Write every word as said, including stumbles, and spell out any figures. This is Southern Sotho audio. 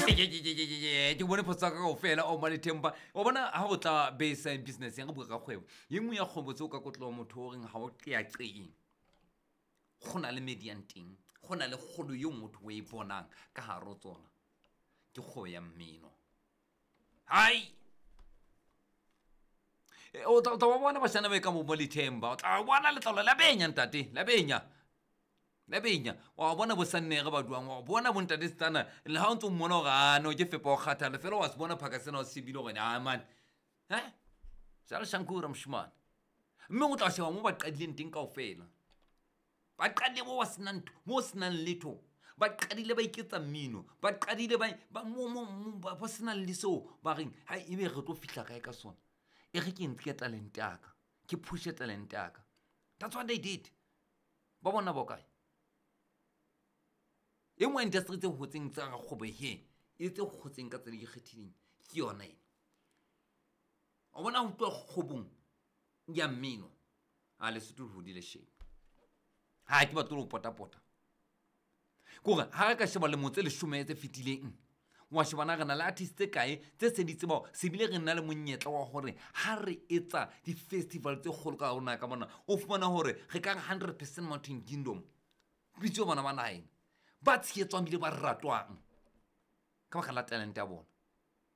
Ke bone phoso ka kaofela o Malethemba. Wa bona ha o tla base business ya re bua ka kgwebo. Ye nngwe ya kgwebo tseo ka kotloha motho o reng ha o qeaqeeng. Go na le median teng, go na le kgolo eo motho o e bonang ka hare ho tsona. Ke kgwebo ya mmino. Hai! O tla o tla ba bona bashana ba ka mo Lethemba. O tla bona letlalo la benya ntate, la benya. La benya. Wa bona bo sannere ba duang, wa bona bo ntate Stana le ha o ntso mmona hore ah no ke fepa o kgathala fela wa se bona phaka sena o se shebile hore ah man. Eh? Jalo Shankura moshemane. Mme o tla sheba mo ba qadileng teng kaofela. Ba qadile mo ba senang ntho, mo senang letho. Ba qadile ba iketsa mmino, ba qadile ba ba mo mo mo ba ba senang le seo ba reng hai ebe re tlo fihla kae ka sona. E re ke nke talente ya ka, ke push-e talente ya ka. That's what they did. Ba bona ba kae? E nngwe ya industry tse hotseng tsa kgwebo he, e tse hotseng ka tsela e ikgethileng ke yona ena. O bona ho tloha kgwebong ya mmino, a Lesotho le hodile shame. Ha ke batle ho pota-pota. Ke hore ha re ka sheba lemo tse leshome tse fetileng, wa sheba na re na le artist tse kae tse se di tseba se bile re na le monyetla wa hore ha re etsa di-festival tse kgolo ka rona ka mona, o fumana hore re ka re hundred percent Mountain Kingdom. Bitso bana ba naheng ba tshehetswang ebile ba ratwang ka baka la talente ya bona.